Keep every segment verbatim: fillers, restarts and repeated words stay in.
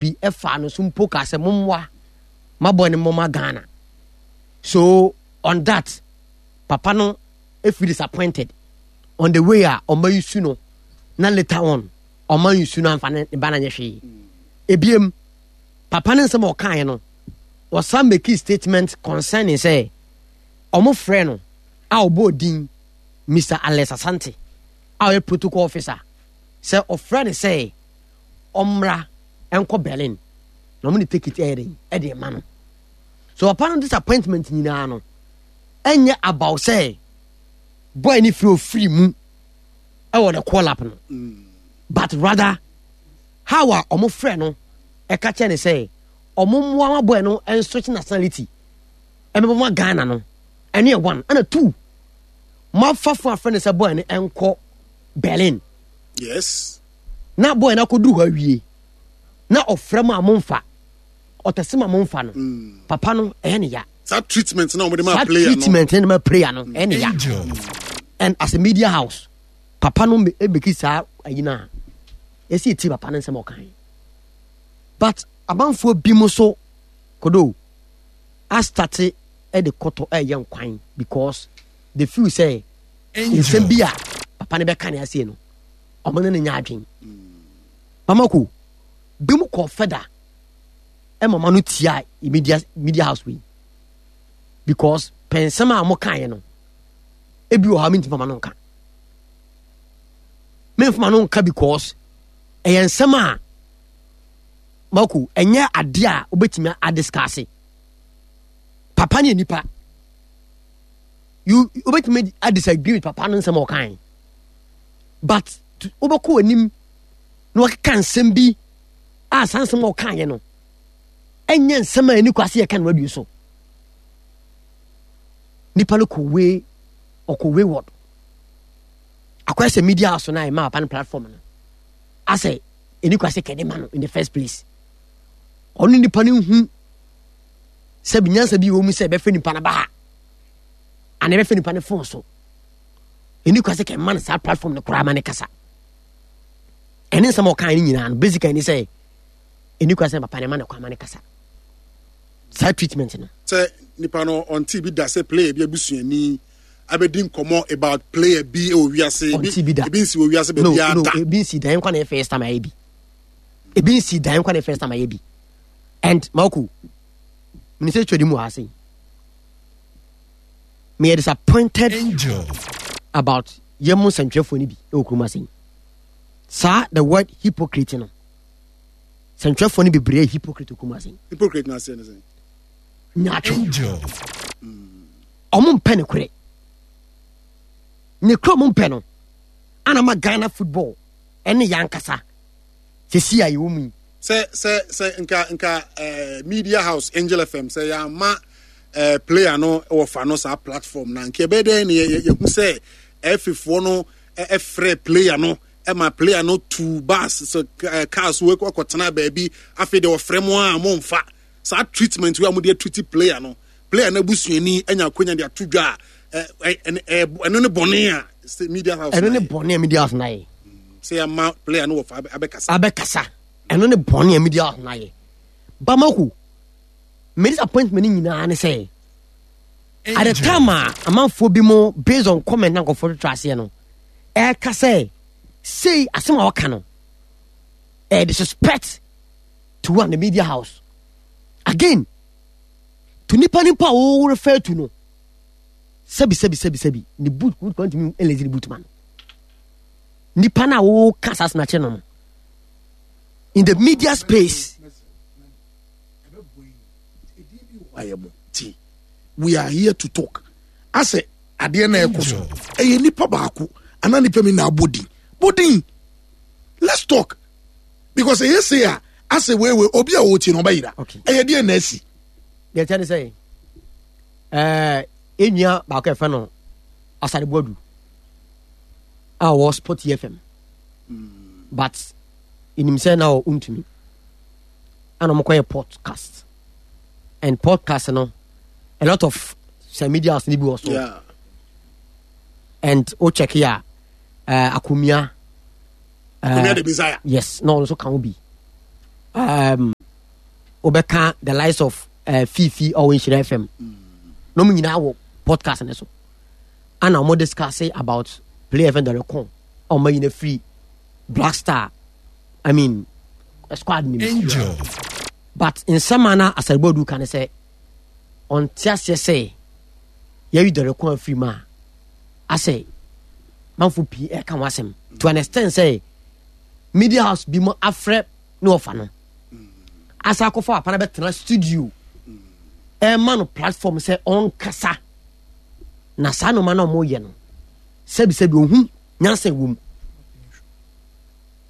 bi ɛfa no so mpo ka sɛ mommoa mabɔ ne mmɔma Ghana. So on that, papa no feel disappointed on the way a ɔma yi su no, na later on ɔma yi su no amfa ne ba no anyɛ hwee. Ebiem, papa no nsɛm a ɔkaeɛ no, ɔsan make statement concerning sɛ ɔmo frɛ no a ɔbɔɔ din Mister Alex Asante a ɔyɛ protocol officer sɛ ɔfrɛ no sɛ ɔmmra nkɔ Berlin na ɔmo ne ticket ɛyɛ den ɛde ma no. So papa no disappointment nyinaa no ɛnyɛ about sɛ boy ne firi ofiri mu ɛwɔ the call up no, but rather how a ɔmo frɛ no ɛka kyerɛ ne sɛ ɔmo mmoa ma boy no ɛnswitch nationality ɛmɛbɔ ma Ghana no. Ɛno yɛ one. Ɛna two, moafa fo afrɛ no sɛ boy no ɛnkɔ Berlin. Yes. Na boy no akɔduru hɔ awie na ɔfrɛ mu a momfa ɔtɛse ma momfa no. Mm. Papa no ɛyɛ ne ya. Saa treatment na wɔde ma player no. Saa treatment na ma player no ɛyɛ ne ya. And as a media house, papa no ebeki saa ayi na yɛsi eti papa no nsɛm ɔkan. But abanfoɔ bi mu so kodo astate ɛde kɔtɔ ɛyɛ nkwan because they feel sɛ nsɛm bi a papa no bɛka ne aseɛ no ɔmo ne ne nya adwen. Bamako bi mu kɔ fɛda ɛma ɔma no tia media media house wei because pɛnsɛm a ɔmo kaeɛ no ebi wɔ hɔ a mentumi fama no nka, memfama no nka because ɛyɛ nsɛm a mako ɛnyɛ adeɛ a wobɛtumi adiskase. Papa ne nipa, you wobɛtumi adisagree with papa no nsɛm a ɔkae, but wobɛkɔ w'anim na wakeka nsɛm bi a saa nsɛm a ɔkaeɛ no ɛnyɛ nsɛm a ɛni kwase yɛka no radio so. Nipa no kɔ way ɔkɔ wayward akɔyɛ sɛ media house no a ɛma papa no platform no asɛ ɛni kwase kɛde ma no in the first place. Ɔno nipa no hu sɛ nyansa bi wɔ mu sɛ ɛbɛfɛ nipa no ba ha ana ɛbɛfɛ nipa no phone so, ɛni kwase kɛ ma no saa platform no koraa ma ne kasa. Ɛne nsɛm a ɔka no nyinaa no basically ne sɛ ɛni kwase papa ne ma no kwan ma ne kasa saa treatment no. Sɛ nipa no ɔnte bi da sɛ player bi abusuani abɛdi nkɔmɔ about player bi wɔ wiase, ɔnte bi da, ebi nsi wɔ wiase baabi a da, ebi nsi dan nkwa na yɛ first time ayɛ bi, ebi nsi dan nkwa na yɛ first time ayɛ bi. And Mako minister twɛ di mu ase, me yɛ disappointed Angel about yɛn mu nsɛntwerɛfoɔ no bi wɔ kurom ase. Saa the word hypocrite no, sɛntwerɛfoɔ no bebree yɛ hypocrite wɔ kurom ase. Hypocrite na ase ne sɛn? Nyaatwom. Ɔmo mpɛ ne korɛ, ne korɛ ɔmo mpɛ no ana ma Ghana football ɛne yɛn ankasa sɛsi a yɛwɔ mu yi. Sɛ sɛ sɛ nka nka eh, media house Angel F M sɛ yɛama eh, player no wɔfa no saa platform na nka ɛbɛyɛ dɛn ne yɛhu sɛ ɛfifoɔ no ɛfrɛ player no ɛma player no tu bus sɛ eh, cars wo akɔtena baabi, afei deɛ wɔfrɛ mo a momfa saa treatment wei a mode atreat player no, player no abusuani anya akonya de ato dwa a ɛno ne bɔne a media house ɛno ne bɔne a media house na yɛ. Sɛ yɛama player no wɔfa abɛkasa. Abɛkasa, ɛno ne bɔne a media house na yɛ. Bamako me disappointment nyinaa ne sɛ at the time a amanfoɔ bi mo based on comment na nkɔfoɔ twetwe aseɛ no ɛka sɛ sei asɛm a wɔka no ɛyɛ disrespect to one the media house again to nipa nipa a wɔwɔ refer to no, sɛbi sɛbi sɛbi sɛbi ne boot kwan tumi ɛlɛzi ne boot ma no nipa na wɔka saa asɛm akyerɛ no no in the media space. We are here to talk asɛ adeɛ na ɛkɔ so ɛyɛ nipa baako anaa nipa mi na abɔ din bɔ din, let's talk because ɛyɛ se a asɛ weewe obi a wɔtie no ɔbɛyira ɛyɛ deɛ na asi. Deɛ kyɛ ne sɛ ɛɛ enua baako yɛfɛ no Asare Boadu a ɔwɔ Sport F M, but enim sɛ na ɔntumi ɛna ɔmo kɔyɛ podcast and podcast no a lot of some media house ni bi wɔ so. Yeah. And o check ya uh, Akumia uh, Akumia de Messiah. Yes, na ɔno nso ka ho bi um, Wobɛka the likes of uh, Fifi ɔwɔ Nhyira F M na ɔmo nyinaa wɔ podcast ne so ana ɔmo discuss about player F M Derek ɔmo nyina free Black Star, I mean, squad nim. Angel. But nsɛm a na Asare Boadu ka ne sɛ ɔnte aseɛ sɛ yɛyi Derek afiri mu a, asɛ manfo pii ɛka ho asɛm to an extent sɛ media house bi mu afrɛ ne ɔfa no asa akɔfa papa no bɛtena studio ɛma no platform sɛ ɔnkasa. Na saa noma no a ɔmoyɛ no, sɛbisɛbi, ohun nyansa ɛwɔ mu,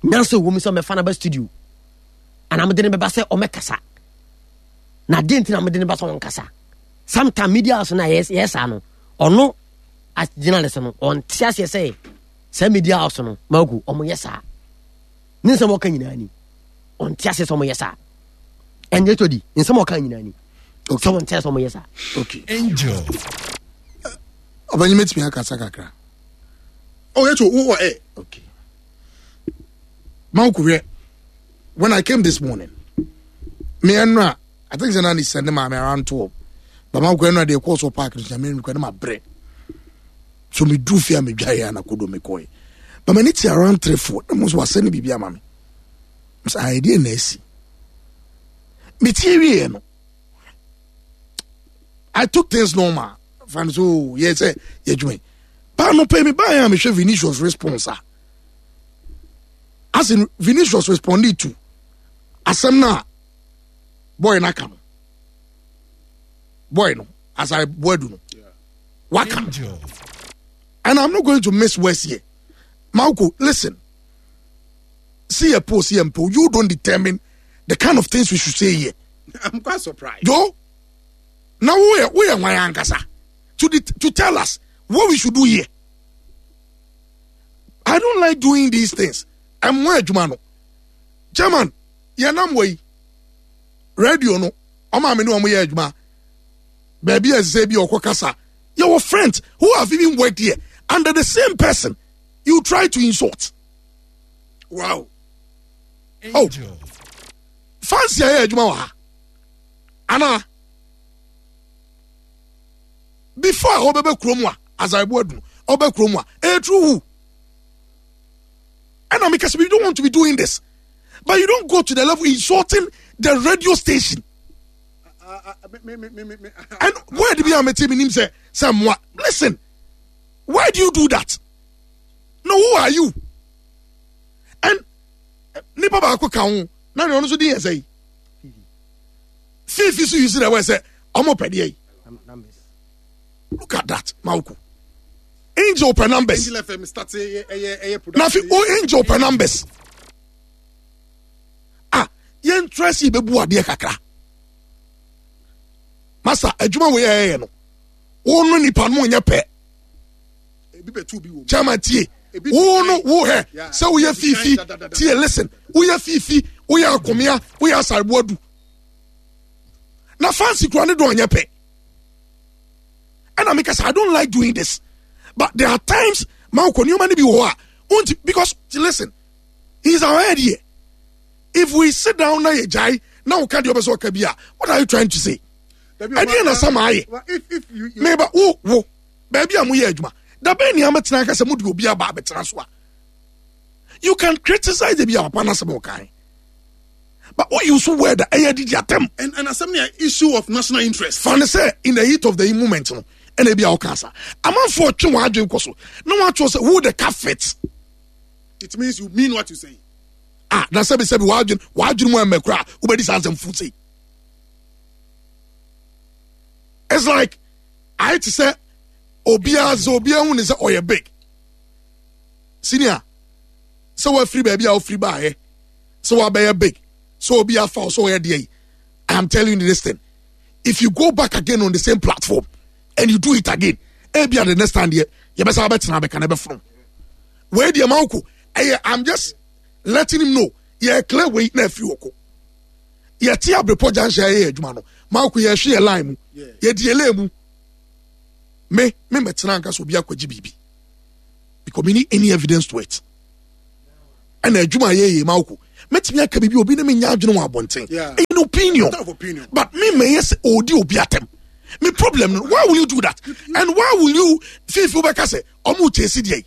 nyansa ɛwɔ mu sɛ ɔmɛfa no ba studio anaa mede no bɛba sɛ ɔmɛkasa. Na adeɛ nti na mede no ba sɛ ɔnkasa, sometime media house no a yɛ saa no, ɔno as journalist no ɔnte aseɛ sɛ saa media house no magu ɔmoyɛ saa. Ne nsɛm ɔka nyinaa ni, ɔnte aseɛ sɛ ɔmoyɛ saa. Ɛnyɛ tɔ di nsɛm ɔka nyinaa ni sɛ ɔnte aseɛ sɛ ɔmoyɛ saa. Okay. Angel. Ɔbɛnyi, mɛtumi akasa kakra? Oh, yɛto wowɔ ɛ. Okay, Mawukuhwɛ, when I came this morning, me ɛno I think sɛ na ne send ma me around twelve, but Mawukuhwɛ no deɛ kɔɔ so park no so nyame nukura ne ma brɛ so me duru fie a me dwa yɛ anakodo me kɔɛ, but m'ani te around three four na mo nso wasɛ ne biribi ama me sɛ ayɛdeɛ na asi me tie wie no, I took things normal fan so yɛ sɛ yɛ adwuma yi baa no pɛ mi baa yɛ a mehwɛ Vinicius response a, as in Vinicius responded to asɛm no a boy no aka no, boy no Asare Boadu no waka no. Angel. And I'm not going to miss words here. Mauko, listen. See a post, see a post. You don't determine the kind of things we should say here. I'm quite surprised. Joe, now we are we are ankasa to the, to tell us what we should do here. I don't like doing these things. I'm where adwuma no. Chairman, yɛnam wɔ yi radio no, ɔmo a me ne ɔmo yɛ adwuma baabi a ɛsɛ bi ɔkɔ kasa, yɛwɔ friends who have even worked here under the same person you try to insult. Wow. Oh. Angel. Fancy ayɛ adwuma wɔ ha ana before a ɔbɛbɛ kurom a Asare Boadu ɔbɛ kurom a ɛyɛ true who ɛna meka sɛ you don't want to be doing this, but you don't go to the level insulting the radio station. Uh, uh, me, me, me, me, me, And word bi a mete mi nim sɛ sɛ mmoa, listen, why do you do that? No, who are you? And eh, nipa baako ka ho na nea ɔno nso din yɛ sɛ yi fifi so yi si na ɛwɔ sɛ ɔmo pɛ deɛ yi. Look at that, Mauku, Angel pɛ numbers. Angel F M start ɛyɛ ɛyɛ ɛyɛ Na fi o Angel pɛ numbers ah, yɛn tura si bɛ bu adeɛ kakra. Masa adwuma wo yɛ yɛ no, wɔn no nipa no nyɛ pɛ. Ebi bɛ tu bi wɔ mu. Chairman, tie. Ebi wo no wo hɛ Yeah. sɛ woyɛ fifi Da, da, da, da. Tie, listen, woyɛ fifi, woyɛ akomea, woyɛ Asareboadu na fancy kura ne dɔn nyɛ pɛ. Ɛna meka sɛ I don't like doing this, but there are times ma wokɔ nneɛma no bi wɔ hɔ a wonti because listen, he is our head here. If we sit down na yɛ gyae na woka deɛ ɔbɛ sɛ ɔka bi a, what are you trying to say? Ɛdeɛ na sama ayɛ. Well, if if you, you Meba wo wo baabi a moyɛ adwuma dabɛn nea mɛtena aka sɛ mode obi aba abɛtena so a, you can criticize bi a papa no asɛm ɔkae, but wo use word a ɛyɛ didi atɛm. and and asɛm ne issue of national interest. Fa ne sɛ in the heat of the moment no ɛna ebi a ɔka sa amanfoɔ twe wɔn adwene kɔ so na wɔn atwerɛ sɛ who the car fit. It means you mean what you say. Ah, na sɛbi sɛbi, wɔn adwene wɔn adwene mu ɛmɛ kora wobɛdi saa nsɛm fu sei. It's like ayɛ te sɛ obiara sɛ obiara hu ne sɛ ɔyɛ big senior sɛ wafiri baabi a wafiri baayɛ sɛ wabɛyɛ big sɛ obi afa wo sɛ ɔyɛ deɛ yi. I am telling you this thing, if you go back again on the same platform and you do it again, ebi at the next time deɛ yɛbɛsa abɛtena abɛka na ɛbɛfono wei deɛ ma woko ɛyɛ. I'm just letting him know yɛ clear wei na afiri wɔ ko yɛte Abrepɔ Junction yɛyɛ adwuma no ma woko yɛhwe yɛ line mu. Yeah. Yɛdi yɛ lane mu, me me mɛtena nka sɛ obi akɔgye biribi because me need any evidence to it. Ɛna adwuma a yɛyɛ ma woko Mɛtumi aka biribi, obi ne me nya adwene wɔ abɔnten. Yeah. Ɛyɛ an opinion. Matter of opinion. But me mɛyɛ sɛ ɔdi obi atɛm. Me problem no, why will you do that? And why will you fifi wobɛka sɛ ɔmo chase deɛ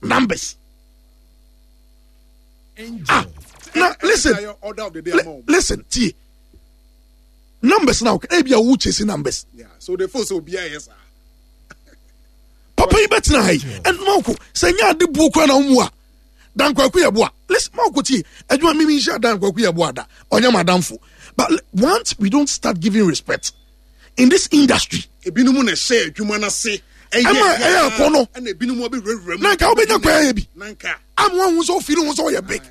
numbers? Ah, na listen, Order of the day li- ama ɔmo. listen, tie. Numbers now, ebi a wo chase numbers. Yeah, so they feel sɛ obiara yɛ saa. Papa yi bɛtena ha yi ɛn mawoko sɛ nyɛ ade buo kora na womu a dankwaku yɛ boa. Listen, mawoko, tie, adwuma mimi nhyɛ Dankwaku yɛ boa da ɔnyɛ madamfo, but li- once we don't start giving respect in this industry, Ebinom na ɛhyɛ adwuma n'ase. Ɛma ɛyɛ akɔnɔ. Ɛna ebinom abɛwurawura mu. Na nka wobɛnya kwan ayɛ bi Na nka. ama wahu sɛ wofiri ho sɛ woyɛ big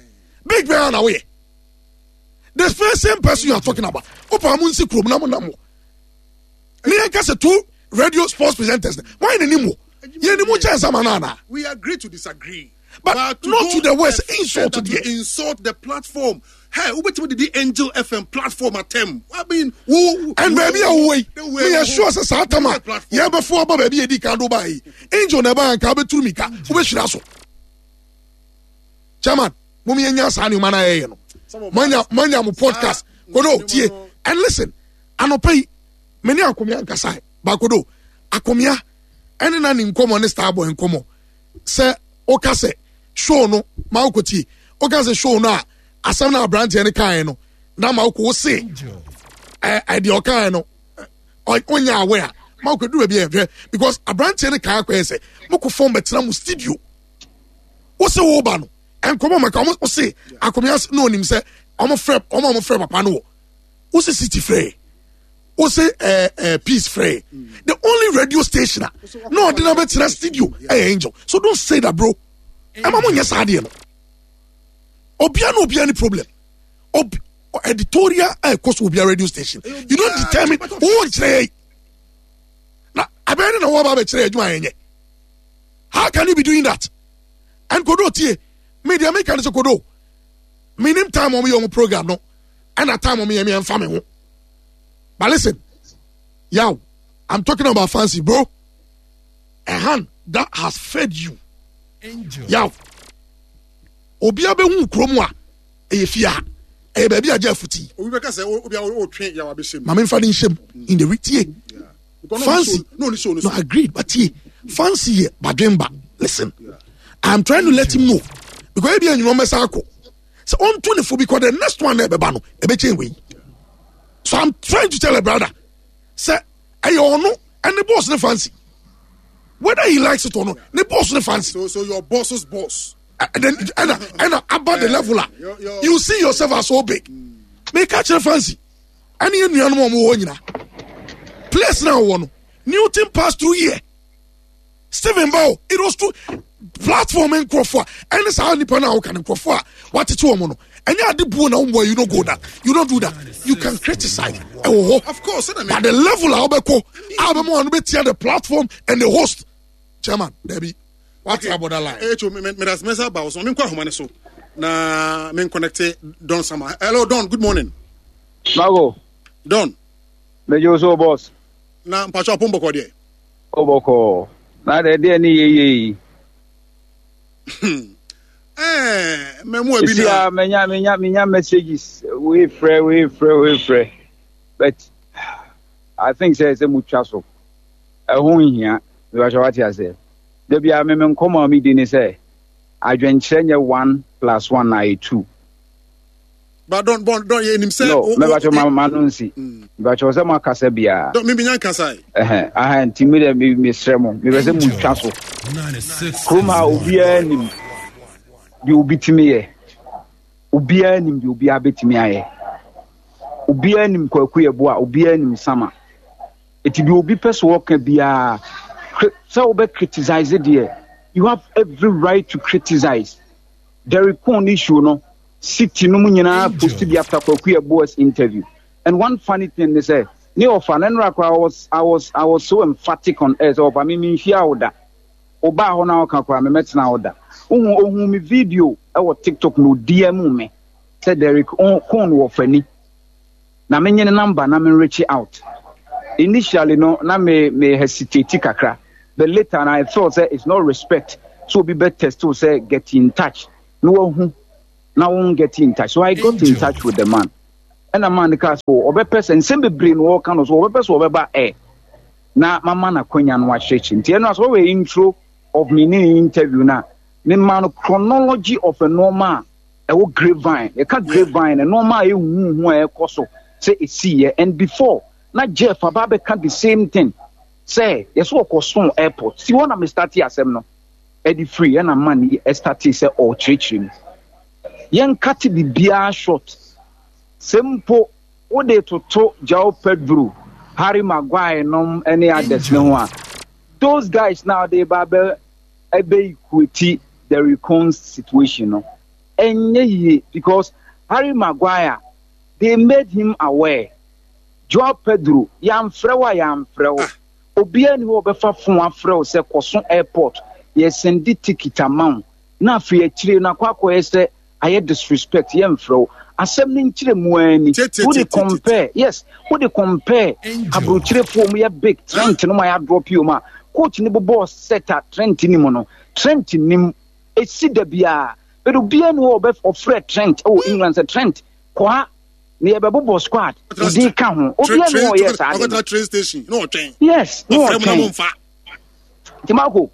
big bɛɛ na woyɛ. The first same person you are talking about, wopa mo nsi kurom na mo nam wɔ ne yɛnka sɛ two radio sports presenters wɔn n'anim wɔ yɛn mu kyɛn sama no anaa? We agree to disagree. But not go to the worst, a insult further there. to insult the platform. Hey, wobɛtumi de di Angel F M platform atɛm. I mean, wo And baabi a wowɔ yi, the way meyɛ wo- sure sɛ saa tam a platform. yɛbɛfo aba baabi yɛdi kan do baa yi, Angel na ɛbaa nka wobɛturu mika wobɛhyira so. Chairman, mom yɛnya saa nneɔma no a yɛyɛ no. Some of manya us- manya mo podcast. Ah, Kodo, nneɛma tie no- and listen. Anɔpa yi me ne Akomea nkasa baakodo Akomea ɛne na ne nkɔmmɔ ne Starboy nkɔmmɔ sɛ woka sɛ show no ma wokɔ tie, woka sɛ show no a asɛm no aberanteɛ no kaeɛ no na ma wokɔ wo se ɛ ɛ deɛ ɔkaeɛ no ɛ, ɔ- ɔnyɛ awɛ a ma wokɔ duru baabi a yɛhwɛ because aberanteɛ no kae akɔyɛ sɛ mokɔ fɔm bɛtena mo studio, wo se wo ba no nkɔmɔ maka ɔmo wo se Akomea se- na onim sɛ ɔmo frɛ ɔmo a ɔmo frɛ papa no wɔ wo se City frɛ wo se ɛɛ ɛɛ Peace frɛ. The only radio station a na ɔde na bɛtena studio ɛyɛ Angel, so don't say that, bro. Ɛma mo nyɛ saa adeɛ no. Obia na obia ni problem. Obi editorial a ɛkɔ so obia radio station, you don't determine wo nkyerɛ yɛ na abɛn ne na wɔba abɛkyerɛ yɛ adwuma yɛn nyɛ. How can you be doing that? And Kodo, tie me, deɛ meka ne sɛ, Kodo, menim time ɔmo yɛ ɔmo program no ɛna time ɔmo yɛ me ɛmfa me ho. But listen, yaw, I'm talking about Fancy, bro, a hand that has fed you. Yaw, obiara bɛhu kurom a ɛyɛ fie a ɛyɛ baabi a gye afuti. Obi bɛka sɛ obi a wotwe yaw abɛhyɛ mu. Maame nfa ne nhyɛm in the tie. Because Fancy. no ɔne show no No, so. agreed, but tie, Fancy yɛ badwemba. Listen, I'm trying to let him know because ebi enyim ɔmɛsa akɔ sɛ ɔnto ne fo because the next one na ɛbɛba no ɛbɛkyɛn wei. So I'm trying to tell a brother sɛ ɛyɛ ɔno ɛne boss ne Fancy, whether he likes it or not, ne boss ne Fancy. So so your boss's boss. And then ɛna ɛna aba the level a Your- your- you see yourself as so big. Meka kyerɛ Fancy ɛne yɛ nuanom a ɔmo wɔ hɔ nyinaa, place na ɔwɔ no, Newton pass through here, Stephen Bao, it was true platform nkurɔfoɔ a ɛne saa nipa no a woka no nkurɔfoɔ a watete wɔn no ɛnyɛ ade buo na wɔn. You don't go that, you don't do that. You can criticize, ɛwɔ hɔ. Of course, ɛna But the level a wobɛkɔ a wobɛma wɔn no bɛtia the platform and the host chairman, dabi, wate abɔda line. Echo me me das mesa ba so me nkɔ ahoma ne so na me connect Don Sama. Hello Don, good morning. Mago, Don, mejo so, boss. Na mpacho apom bɔkɔ deɛ? Oboko. Na de de ni yeye yi. Eh, me mu abi Isi na a menya menya menya messages we frɛ, we frɛ, we frɛ. But I think say say mutwa so. Ɛho nhia. Me ba wate ase. Da bia me me nkɔmɔ a me di ni sɛ adwenkyerɛ nyɛ one plus one na yɛ two. But Don Don Don ye nim sɛ No, o- me o- ba ma ma no nsi. Me ba sɛ mo akasa bia. Don me bi nya nkasa. Ɛhɛn, aha nti mi de me me srɛ mo. Me bɛ sɛ mutwa so. Kurom a obiara nim deɛ obi tumi yɛ, obiara nim deɛ obiara bɛtumi ayɛ, obiara nim Kwaku yɛ bo a obiara nim Sama eti deɛ obi pɛ so wɔka biara cri- sɛ wobɛ criticize deɛ, you have every right to criticize. Derek Cohn issue no, city no mu nyinaa post bi after Kwaku yɛ boas interview. And one funny thing ne sɛ ne ɔfa ne nnora koraa, I was I was I was so emphatic on air sɛ ɔfa me me nhyia wo da ɔbaa hɔ na ɔka koraa mɛmɛtena wo da ohun ohun mi video ɛwɔ TikTok na odi mu me sɛ Derek Cohn wɔ fani na menye ne number na me reach out. Initially no na me me hesitate kakra, but later na I felt say it's not respect so obi bɛ test wo sɛ get in touch na wahu. Na wɔn get in touch. So I got in touch with the man. Ɛna man no kaa sɛ ɔbɛpɛ sɛ nsɛm bebree na ɔka no so ɔbɛpɛ sɛ ɔbɛba ɛ na mama no akwanya no akyerɛkyerɛ. Nti ɛno asɛ wɔyɛ intro of me ne interview no a mema no chronology of nneɛma a ɛwɔ grapevine. Yɛka grapevine, nneɛma a ɛhuhu a ɛkɔ so sɛ ɛsiiɛ. And before na Jeff aba abɛka the same thing sɛ yɛsɛ ɔkɔso airport si hɔ na me start asɛm no ɛde firi. Ɛna man yi ɛ start sɛ ɔrekyerɛkyerɛ mu. Yɛnkate biribiara short sɛ mpo wode toto João Pedro, Harry Maguire nom ne others ne ho a, those guys now de ba bɛ ɛbɛ equate the recon situation no, ɛnyɛ yie, because Harry Maguire, they made him aware. João Pedro, yɛamfrɛ wo a yɛamfrɛ wo. Obiara ni hɔ a ɔbɛfa phone afrɛ wo sɛ kɔso airport, yɛ send ticket ama wo, na afei akyire no akɔ akɔyɛ sɛ ayɛ disrespect. Yɛmfrɛ wo. Asɛm no nkyerɛ mu ara ni. Wode compare, yes, wode compare aburokyerefoɔ mu yɛ big Trent no ma yɛa drop yi mu a coach ne bobɔɔ set a Trent ni mu no, Trent nim esi da biara, but obiara ni hɔ ɔbɛ ɔfrɛ Trent ɛwɔ England sɛ Trent kɔ ha na yɛbɛbobɔ squad odi ka ho. Obiara ni hɔ ɔyɛ saa de no. Train station na ɔtwɛn. Yes, na ɔtwɛn. Nti Marco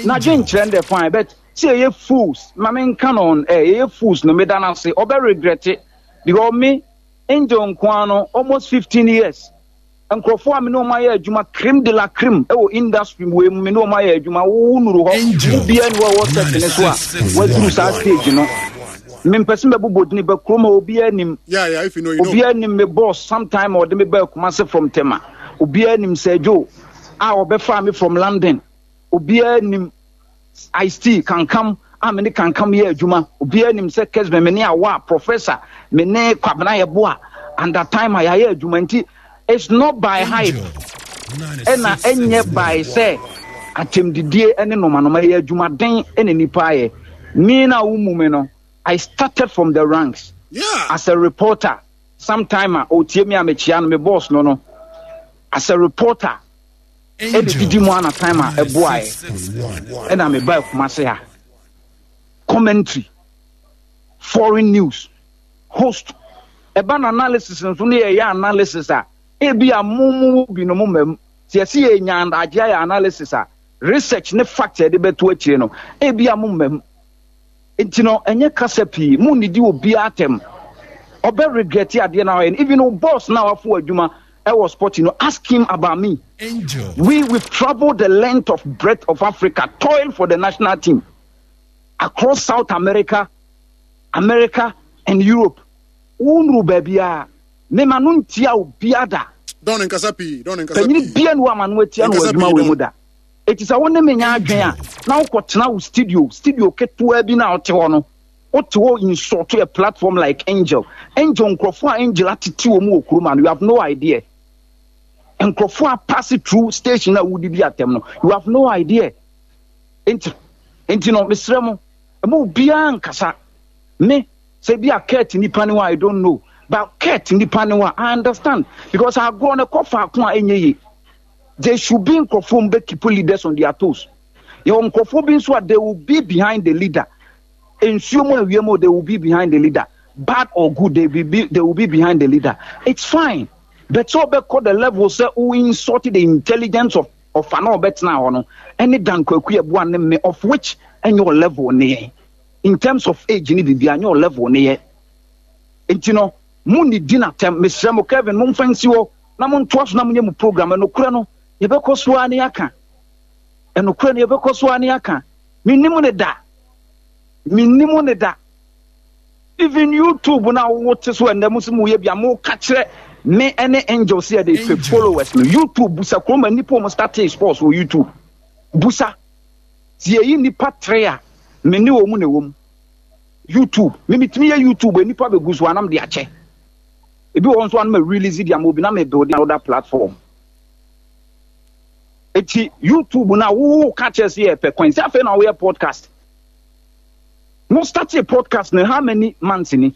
na dwe nkyerɛ no dɛ fine, but sɛ yɛyɛ fools ma menka no on air, yɛyɛ fools no, meda no ase. Ɔbɛ regret it because me Angel nkoa no almost fifteen years, nkurɔfoɔ a me ne wɔn ayɛ adwuma, crème de la crème ɛwɔ industry wei mu, me ne wɔn ayɛ adwuma. Wo nuru hɔ, wo bia ni hɔ ɛwɔ set ne so a waduru saa stage no. Mempɛ sɛ mɛbobɔ dini bɛ kurom hɔ. Obiara nim. Yeah, yeah, if you know, you know. Obiara nim me boss sometime a ɔde me baa Kumase from Tema. Obiara nim Sergio a ɔbɛfaa me from London. Obiara nim Ice T Kankam a me ne Kankam yɛ adwuma. Obiara nim sɛ Kesben, me ne Awa Professor, me ne Kwabena Yɛboa and that time a yɛayɛ adwuma. Nti it's not by hype ɛna ɛnyɛ by sɛ atɛmdidie ne nomanoma. Yɛ adwumaden ɛna nipa ayɛ. Me na wo mu me no, I started from the ranks Yeah. as a reporter. Sometime a otie me a mekyia no, me boss no no as a reporter ɛna didi mu ana time a ɛboaeɛ ɛna meba Kumase ha, commentary, foreign news host, ɛba na analysis nso ne yɛyɛ analysis a ebi a mo mu bi no mo mam sɛ yɛsi yɛ nya adagye ayɛ analysis a research ne fact yɛde bɛto akyire no, ebi a mo mam. Nti no ɛnyɛ kasa pii mo nidi obiara atɛm. Ɔbɛ regret adeɛ na ɔyɛ no. Even o boss na wafo adwuma ɛwɔ sport no, ask him about me. We we've travelled the length of breadth of Africa, toil for the national team across South America, America and Europe. Wonuru baabi a mema no ntia obiara da. Don nkasa pii, Don nkasa panyini pii. Bia ne wɔ ama no atia no wɔ Nkasa adwuma pii, wei mu Don. da. Eti sɛ wo ne me nya adwen a na wokɔtena wo studio studio ketewa bi na wote hɔ no, wote hɔ insult a platform like Angel. Angel, nkurɔfoɔ a Angel atete wɔ mu wɔ kurom ano, you have no idea. Nkurɔfoɔ a pass through station a wodidi atɛm no, you have no idea. Nti nti no mesrɛ mo, ɛma obiara nkasa. Me sɛ bi a Kurt nipa ne hɔ a, I don't know, but Kurt nipa ne hɔ a, I understand, because agorɔ no kɔ faako a ɛnyɛ yie. There should be nkurɔfoɔ mu bɛ keep leaders on their toes. Yɛwɔ nkurɔfoɔ bi nso a they will be behind the leader. Nsuo mu awia mu, they will be behind the leader. Bad or good, they will be they will be behind the leader. It's fine, but sɛ ɔbɛkɔ the level sɛ wo insult the intelligence of ɔfa na ɔbɛtena hɔ no ɛne Dan Kwaku Yeboah ne me, of which ɛnyɛ ɔ level ne yɛn in terms of age ne biribi anyɛ ɔ level ne yɛ. Nti no mo ne di n'atɛm. Mesrɛ mo, Kevin, momfa nsi hɔ na montoa so na monyɛ mo program. Ɛnokorɛ no yɛbɛkɔ so ara ne yɛaka. Ɛnokorɛ no yɛbɛkɔ so ara ne yɛaka. Mennim ne da, mennim ne da. Even YouTube na wote so ɛnɛ mo sɛ moyɛ bi a moka kyerɛ me ɛne Angel sɛ yɛde pɛ followers no. YouTube, busa kuroma nnipa ɔmo start sports wɔ YouTube. Busa sɛ yɛyi nnipa tere a me ne wɔ mu na ɛwɔ mu YouTube. Me metumi yɛ YouTube, nnipa bɛgu so anam de akyɛ. Ebi wɔ hɔ nso anam release de ama obi na me build another platform. Eti YouTube na wo ka kyerɛ sɛ yɛpɛ coin sɛ afei na woyɛ podcast mo start podcast no, how many months ni,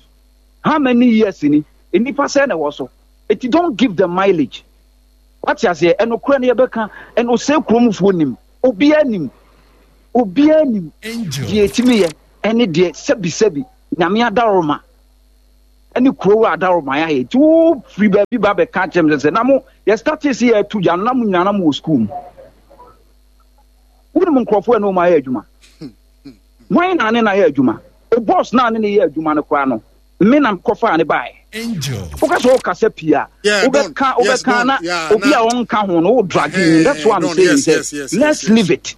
how many years ni, nnipa sɛ na ɛwɔ so? Eti don't give them mileage. Wate aseɛ? Ɛnokorɛ no yɛbɛka. Ɛna ɔsɛ kuromfoɔ nim, obiara nim, obiara nim deɛ ɛtumi yɛ ɛne deɛ sɛbisɛbi. Nyame adaroma ɛne kurow adaroma yɛ ayɛ. Nti wo firi baabi ba bɛka kyerɛ me sɛ na mo yɛ start sɛ yɛatu gya no, na mo nyinaa na mo wɔ school mu. Wonim nkurɔfoɔ ɛne wɔn ayɛ adwuma. Wɔn na ne na ayɛ adwuma. O boss na ne ne yɛ adwuma no koraa no, me na kɔfaa ne baeɛ. Woka sɛ wokasa pii a, wobɛka wobɛka na obi a ɔnka ho no, wo drag him. That's what I'm saying, sɛ let's leave it.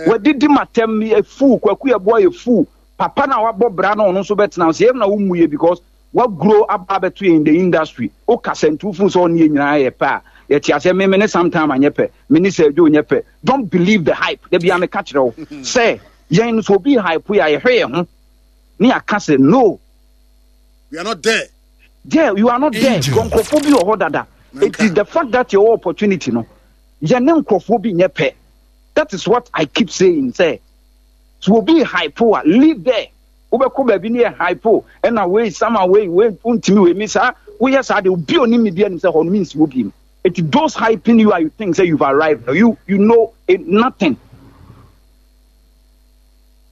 Wadidi matam yɛ fool. Kwaku Yɛboa yɛ fool. Papa na wabɔ bra na ɔno nso bɛtena sɛ yɛm na wommu yɛ because waguro aba abɛto yɛn in the industry. Wokasa nti wofunu sɛ ɔne yɛ nyinaa yɛ pɛ a, yɛte aseɛ. Me me ne sometime anyɛ pɛ, me ne sɛ adwo nyɛ pɛ. Don't believe the hype. Da bia meka kyerɛ wo sɛ yɛn no, sɛ obi hype yɛ a, yɛhwɛ yɛn ho ne yɛaka sɛ no. We are not there. Yeah, you are not there. Nkurɔfoɔ bi wɔ hɔ dada. It is the fact that your opportunity no, yɛne nkurɔfoɔ bi nyɛ pɛ. That is what I keep saying, sɛ so obi hype a, leave there. Wobɛkɔ baabi ne yɛ hype ɛna wei sama wei wei wontumi wei mi saa woyɛ saa de, obi onim mi bi anim sɛ hɔ no mi nsi wɔ bi mu. It those hyping you are, you think say you've arrived. No, you you know it, nothing.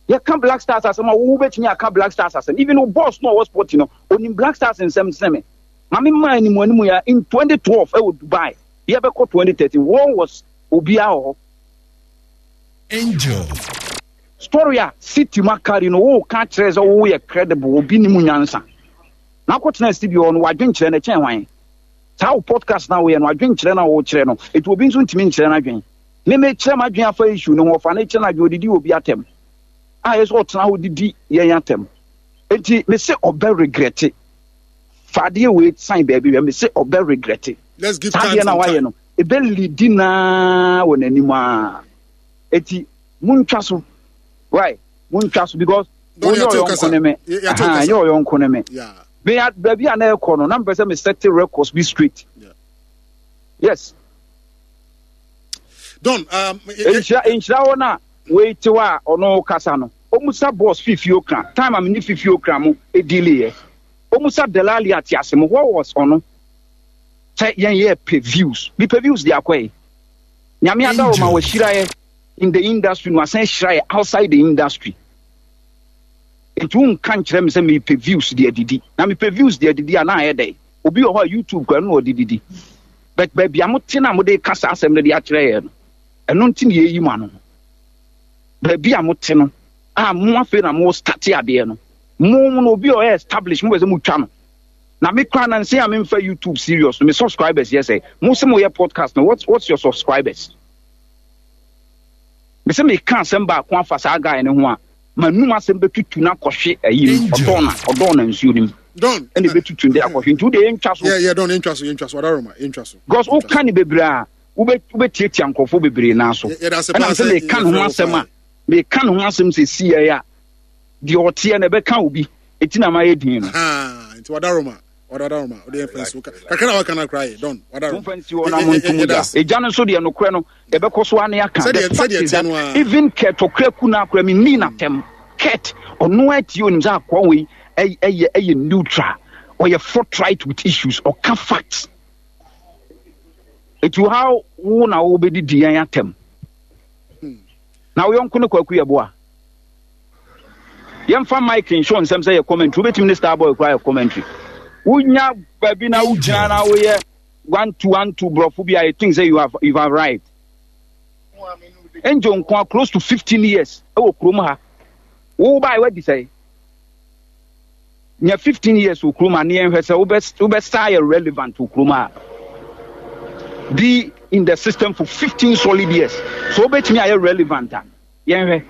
Yɛka Black Stars asɛm a, wo bɛtumi aka Black Stars asɛm. Even wo boss no a ɔwɔ sport no, onim Black Stars nsɛm sɛ me maame maa anim anim ya in twenty twelve ɛwɔ Dubai. Yɛbɛkɔ twenty thirteen, wɔn was obiara wɔ hɔ. Angel. Story a city ma carry no, wo ka kyerɛ sɛ woyɛ credible, obi ni mu nyansa na akɔtena studio hɔ no, wadwenkyerɛ no kyɛn hwan? Saa wo podcast na woyɛ no, adwenkyerɛ no a wokyerɛ no, ɛti obi nso ntumi nkyerɛ no adwen. Me mekyerɛ m'adwen afa issue no ho, ɔfa no kyerɛ no adwen, odidi obi atɛm a yɛ sɛ ɔtena hɔ didi yɛn atɛm. Enti me se ɔbɛ regret. Fa adeɛ wei sign baabi hwɛ, me se ɔbɛ regret. Let's give saa time adeɛ no a some wayɛ time. No ɛbɛ lidi naa wɔ n'anim a, eti muntwa so, right? Muntwa so because Don, wonyɛ yɛate wo ɔyɔnko kasa. ne me. Yɛ- yɛate wo Aha, kasa. nyɛ ɔyɔnko ne me. Yeah. Me a- baabi a na ɛkɔ no, na mpɛ sɛ me set records bi straight. Yeah. Yes. Don, um, y- y- Nhyira nhyira hɔ no a, wei te hɔ a ɔno kasa no, ɔmusa boss Fifi Okra time a mene Fifi Okra mo ɛdiliɛ, ɔmusa Delali ate ase mo. What was ɔno sɛ yɛn yɛ pɛ views bi, pɛ views de akɔ yi. Nyame adawɔ ma wahyira yɛ in the industry no, asan hyira yɛ outside the industry. Nti wonka nkyerɛ me sɛ mepɛ views de adidi, na mepɛ views de adidi a, na ayɛ dɛn? Obi wɔ hɔ a YouTube kora no na ɔde didi, but baabi a mote no a mode ka saa asɛm no de akyerɛ yɛn no, ɛno nti ne yɛyi mu ano no. Baabi a mote no a, mo afei na mo start adeɛ no, mo no obi a ɔyɛ establish, mo bɛ sɛ motwa no. Na me kora na nsɛn a memfa YouTube serious no, me subscribers yɛ sɛ mo sɛ moyɛ podcast no, what's, what's your subscribers? Me sɛ meka asɛm baako afa saa guy no ho a, manum asɛm bɛtutu no akɔhwe ayi mu. Ɔdɔn na ɔdɔn na nsuo no mu. Don. Ɛna ɛbɛtutu de akɔhwe, nti wode yɛntwa so. Yeah, yeah, Don, yɛntwa so, yɛntwa so. Wadaroma, yɛntwa so. Because woka ne bebree a, wobɛ- wobɛtiatia nkurɔfoɔ bebree naa so. Yɛ- yɛda ase Ɛna paa sɛ sɛ meka ne ho yɛfrɛ wo asɛm paa. A meka ne ho asɛm sɛ siɛ a, deɛ ɔteɛ no ɛbɛka obi, ɛti na mayɛ din no. Aha, nti wadaroma, wadaroma. Wode yɛmfa nsi wo ka- kakra na waka no koraa yɛ, Don, wadaroma. Momfa nsi hɔ na monto mu Yɛda gya ase. ɛgya no nso deɛ, nokorɛ no yɛbɛkɔ so ane aka. Sɛdeɛ- The fact sɛdeɛ is ɛteɛ that no ara. even Kurt Okraku no akora menni n'atɛm. Kurt ɔno atie, onim sɛ akoa wei ɛy- ɛyɛ ɛyɛ neutral, ɔyɛ forthright with issues, ɔka facts. Ɛti how wo na wobɛdidi yɛn atɛm na wo yɔnko ne Kwaku Yɛboa? Yɛmfa mic nhyɛ nsɛm sɛ yɛ commentary, wobɛtumi ne Starboy koraa yɛ commentary. Wonya baabi na wogyina na woyɛ one two one two borɔfo bi a, you think say you have you have arrived. Angel nko a, close to fifteen years ɛwɔ kurom ha. Wo baa wadi sɛ nya fifteen years wɔ kurom ha ne yɛnhwɛ sɛ wobɛ wobɛsa yɛ relevant wɔ kurom ha. Be in the system for fifteen solid years so wobɛtumi ayɛ relevant a, yɛnhwɛ.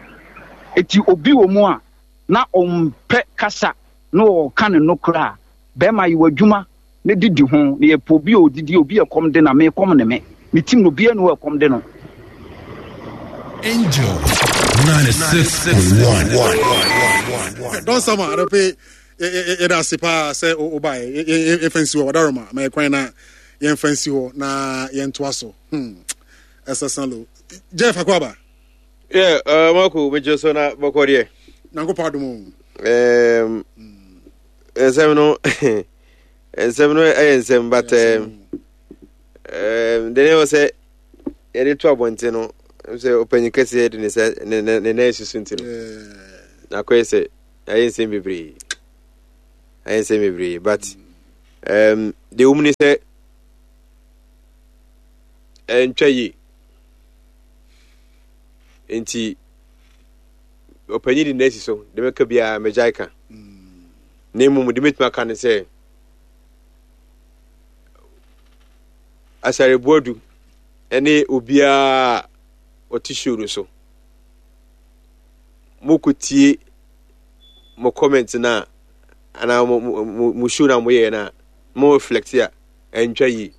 Eti obi wɔ mu a na ɔmpɛ kasa na ɔka ne nokora a, bɛrima yi wɔ adwuma ne didi ho na yɛpɛ obi a odidi, obi a ɛkɔm de na me kɔm ne me me tim no, obiara ne wɔ ɛkɔm de no. Angel ninety-six point one. Don Sama, adɔpe, yɛda ase paa sɛ wobaeɛ. Yɛmfa nsi hɔ. Wadaroma ma yɛkwan na yɛmfa nsi hɔ na yɛntoa so. Hmm. Ɛsɛ sa lo. Jeff Akwaba. Yeah, uh, Marco, mekyerɛ so na bɔkɔ deɛ. Nyankopɔn adom o. Um, nsɛm no nsɛm no ɛyɛ nsɛm, but um, um, deɛ ne wɔ sɛ yɛde to abɔnten no sɛ ɔpanyin kɛseɛ de ne sɛ ne ne ne nan susu nti no na akɔyɛ sɛ Ayɛ nsɛm bebree. Ayɛ nsɛm bebree but um, deɛ wɔm ne sɛ ɛntwa yie. Nti ɔpanyin de n'asi so de mɛka biara mɛgyae ka. Na mmom de mɛtumi aka ne sɛ Asare Boadu ne obiara a ɔte show no so. Mokɔtie mo comment no a anaa mo, mo, mo show no a moyɛɛ no a mo reflect a ɛntwa yie.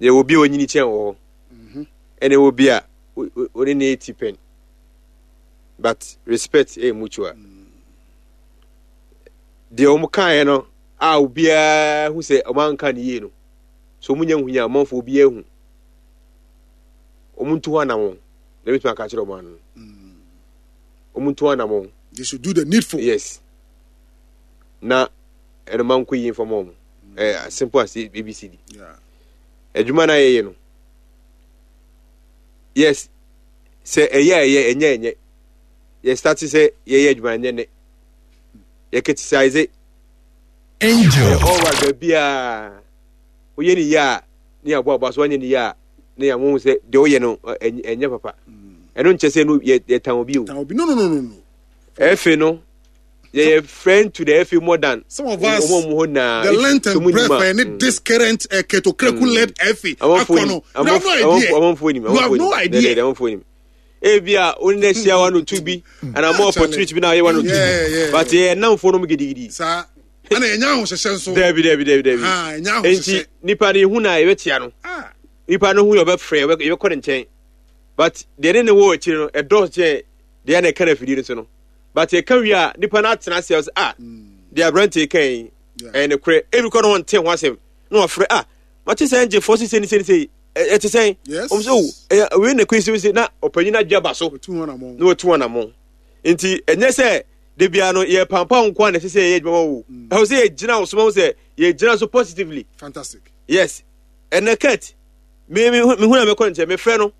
Yɛwɔ obi a ɔnyini kyɛn wɔ hɔ mhm. ɛna ɛwɔ bi a ɔne ne ti pɛn but respect ɛyɛ mutual. Deɛ wɔn kaeɛ no a obiara hu sɛ wɔn anka ne yie no so wɔn nya hu yɛ amanfo obiara hu wɔn ntu hɔ anamɔ na ebitumi aka kyerɛ wɔn ano wɔn ntu hɔ anamɔ. They should do the needful. Yes. Na ɛno ma nkɔ yie nfam wɔn ɛɛ as simple as A B C D. Adwuma na yɛyɛ no, yes, sɛ ɛyɛ a ɛyɛ, ɛnyɛ ɛnyɛ. Yɛ start sɛ yɛyɛ adwuma ɛnyɛ nɛ yɛ criticize. Angel. All right, baabiaa woyɛ ne yie a ne yɛ aboaboa so, wanyɛ ne yie a ne yɛ amohu sɛ deɛ woyɛ no ɛnyɛ papa. Ɛno nkyɛ sɛ no yɛtan obi o. Tan obi, no no no no no. Ɛfɛ no yɛyɛ friend to the F A more than some of us. The length and breadth and this current uh, Kurt Okraku led F A akɔ no, you have no idea. Amanfoɔ nim. You have no idea. Amanfoɔ nim. Ebi a wo ne ahyia one or two bi and more opportunity bi na ayɛ one or two bi, but yɛ namfoɔ no mu gidigidi. Saa ɛna ɛnya ahohyehyɛ nso. Dabi dabi dabi dabi, nti nipa no ihu na yɛbɛtia no, nipa no hu yɛ ɔbɛfrɛ, yɛbɛkɔ ne nkyɛn, but deɛ ne ne wɔ akyire no ɛdɔɔso kyɛn deɛ na ɛka no afidie no so no. But ɛka wie a nipa no atena ase ɔsɛ ah, deɛ aberante kan yi ɛyɛ ne korɛ. Ebi kɔ no wɔn nte ho asɛm na wɔfrɛ, ah, mate sɛ ngyefoɔ sɛ sɛ ni sɛ ni sɛ ɛte sɛn. Wɔn sɛ o ɛyɛ wei na kɔ esi na ɔpanyin adwa ba so na wɔtu wɔn anamɔ. Nti ɛnyɛ sɛ de bia no yɛ pampa nko a na ɛsɛ sɛ yɛyɛ adwuma wo ɛwɔ sɛ yɛgyina wo so ma wo sɛ yɛgyina so positively. Fantastic. Yes, ɛnɛ Kurt me me hu na mekɔ nkyɛn mefrɛ no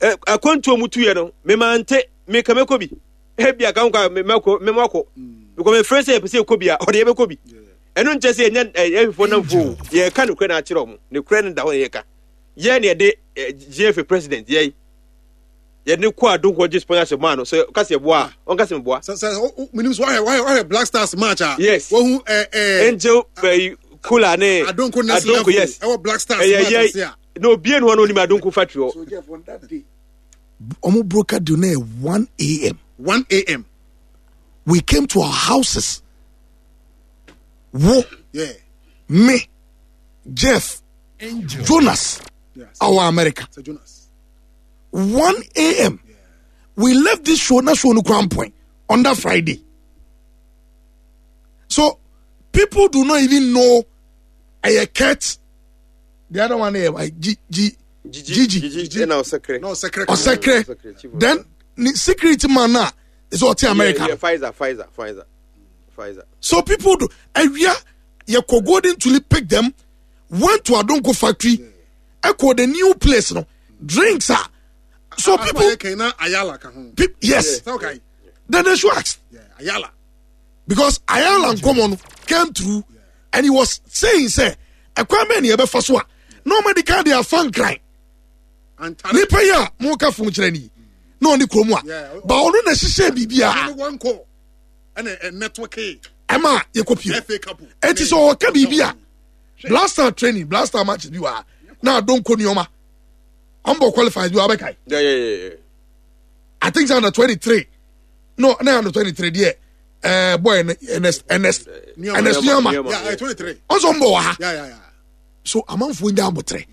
akwantuo mu tuyɛ no memante meka mɛkɔ bi ebi aka nkɔ a mɛkɔ mɛmakɔ because mefrɛ sɛ yɛpɛ sɛ yɛkɔ bi a ɔde yɛbɛkɔ bi. Ɛno nkyɛ sɛ yɛnyɛ ɛhwefo namfo, yɛka nokorɛ no akyerɛ ɔmo. Nokorɛ no da hɔ na yɛka yɛ ne yɛde G F A president yɛi yɛde kɔ Adonko gye sponsorship maa no sɛ ɔka sɛ yɛboa a ɔnka sɛ meboa. Sɛ sɛ menim sɛ wahwɛ wahwɛ wahwɛ Black Stars match a. Yes. Wahu ɛ ɛ. Angel bɛyi kula ne Adonko next level. Yes, ɛwɔ Black Stars match ase a. Na obie no hɔ na onim Adonko factory hɔ. So Jeff, on that day ɔmo broker deal na yɛ one a m one a m. We came to our houses, wo, yeah. me, Jeff, Angel. Jonas, yes. our America. Sir Jonas. one a m. Yeah. We left this show na show no crown point on that Friday, so people do not even know ɛyɛ Kurt, the other one ɛyɛ G G Gigi. Gigi ɛna ɔsɛkere. No, ɔsɛkere. Ɔsɛkere, then ne security man na is ɔte America. Yeah, yeah, Pfizer, Pfizer, Pfizer, Pfizer. So people do awia yɛkɔ Golden Tulip, pick them, went to Adonko factory, ɛkɔ the new place no, drinks a so people People na Ayala ka ho. pe yes. Sɛ okay. Then they should ask. Yeah, Ayala. Because Ayala nkɔmɔ no came through and he was saying sɛ ɛkwan bɛn ni yɛbɛfa so a na ɔmo de ka de afa Nkran Antare. Nipa yi a mo ka fon kyerɛ ni na ɔne kurom a Yeah. ba ɔno na hyehyɛ biribiara. Ɔno one call. Ɛna ɛ network. Ɛma yɛkɔ pie. F A Cup. Eti sɛ ɔka biribi a Blaster training, Blaster matches bi wɔ ha na Adonko nneɛma ɔmbɔ qualifiers bi wɔ abɛkae. Yeah, yeah, yeah, yeah. I think it's under twenty three, no, na under twenty three deɛ ɛɛ boy no Ernest Ernest Ernest Nneɛma. Yeah, eh, twenty-three. Ɔnso ɔmbɔ wɔ ha. Yeah, yeah, yeah. So amanfoɔ nya abotrɛ